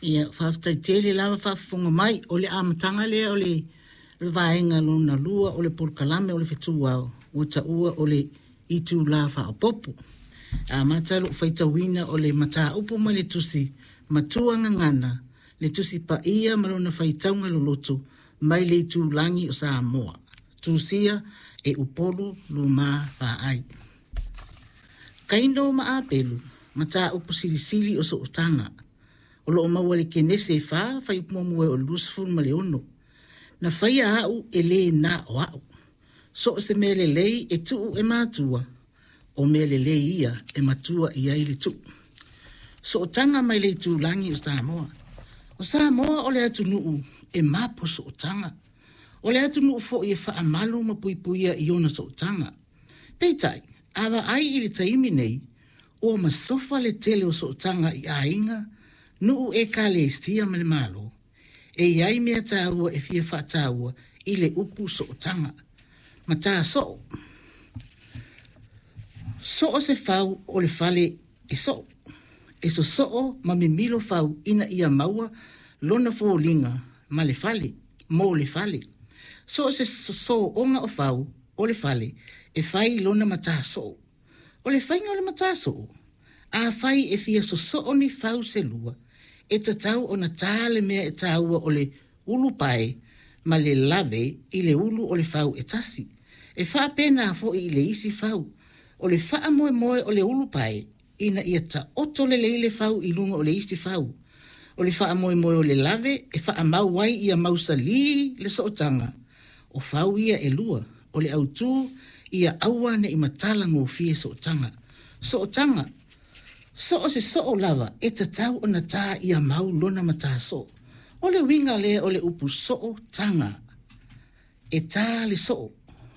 Ia, faafetai tele lava faafofoga mai. O le amataga lea o le vaega lona lua o le polokalame o le fetuao ua taua o le itula faaopoopo. E amata lou faitauina o le mataupu mai le tusi Matua Gagana, le Tusi Paia ma lona faitauga loloto mai le itulagi o Samoa. Tusia e Upolu Luma Vaai. Kaino ma Apelu, mataupu silisili o sootaga. O lo o maua i le Kenese 4, fuaiupu muamua o le 26. Na faia au e le na o au. So o se mea lelei e tuu e matua, o mea lelei ia e matua i ai le tuu. Sootaga mai le itulagi o Samoa. O Samoa o le atunuu e mapo sootaga. O le atunuu foi e faamalu ma puipuia i ona sootaga. Peitai, a vaai i le taimi nei, ua masofa le tele o sootaga i aiga, nuu ekalesia ma le Malo. E i ai mea taua e fia faataua i le upu sootaga. Matā soo. Soo se fau o le fale e soo. E sosoo ma mimilo fau ina ia maua lona foliga ma le fale, mo le fale. So o se sosooga o fau o le fale e fai lona matā soo. O le faiga o le matā soo, afai e fia sosoo ni fau se lua, e tatau ona tā le mea e taua o le ulupae ma le lave i le ulu o le fau e tasi. E faapena foi i le isi fau. O le faamoemoe o le ulupae ina ia taoto lelei le fau i luga o le isi fau. O le faamoemoe o le lave e faamau ai ia mausalī le sootaga o fau ia e lua. O le autū ia aua ne i matala gofie sootaga. Sootaga. So o se soo lava e tatau ona tā ia mau lona matā soo. O le uiga lea o le upu sootaga. E tā le soo.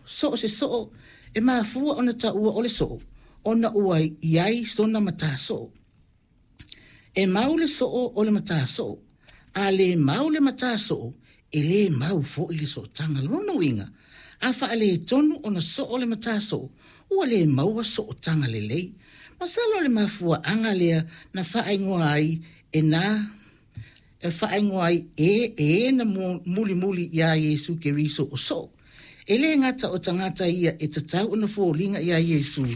So o se soo e mafua ona taua o le soo ona ua i ai sona matā soo. E mau le soo o le matā soo. A le mau le matā soo, e le mau foi le sootaga. Lona uiga, a faaletonu ona soo le matā soo, ua le maua sootaga lelei. Masalo o le mafuaaga lea na faaigoa ai e na e faaigoa ai e e na mulimuli iā Iesu Keriso o soo. E le gata o tagata ia e tatau ona foliga iā Iesu,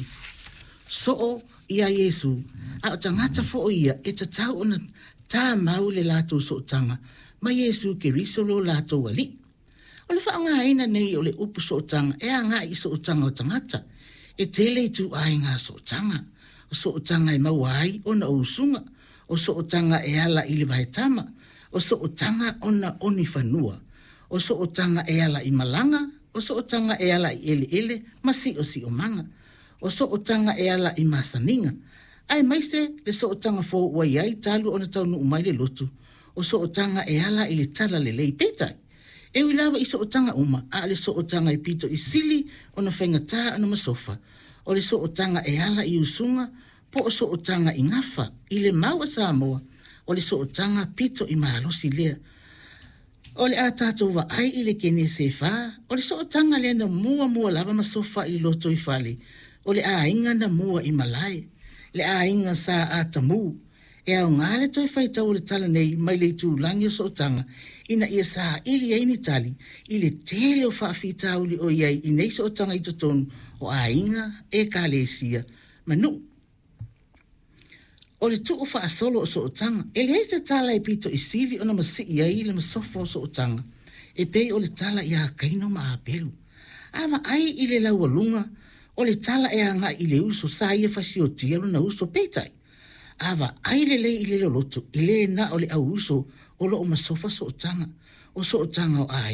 soo iā Iesu, a o tagata foi ia e tatau ona tā mau le latou sootaga ma Iesu Keriso lo latou Alii. O le faaaogaina nei o le upu sootaga e agai i sootaga o tagata. E tele ituaiga sootaga. O sootaga e maua ai ona o usuga, o sootaga e ala i le vaetama, o sootaga ona o ni fanua, o sootaga e ala i malaga, o sootaga e ala i eleele ma siosiomaga, o sootaga e ala i masaniga, aemaise le sootaga fou ua i ai talu ona taunuu mai le lotu, o sootaga e ala i le talalelei. Peitai, e ui lava i sootaga uma, a o le sootaga e pito i sili ona faigata ona masofa, o le sootaga e ala i usuga po o sootaga i gafa. I le mau a Samoa, o le sootaga pito i malosi lea. O le a tatou vaai i le Kenese 4, o le sootaga lea na muamua lava masofa i le lotoifale, o le aiga na mua i malae, le aiga sa Atamu. E aoga le toe faitau o le tala nei mai le itulagi o sootaga ina ia saili ai ni tali i le tele o faafitauli o i ai i nei sootaga i totonu o aiga, ekalesia ma nuu. O le tuu faasolo o sootaga, e leai se tala e pito i sili ona masii ai le masofa o sootaga, e pei o le tala iā Kaino ma Apelu. A vaai i le laualuga, o le tala e agai i le uso sa ia fasiotia lona uso, peitai, a vaai lelei i le loloto, e le na o le au uso o lo o masofa sootaga, o sootaga o aiga.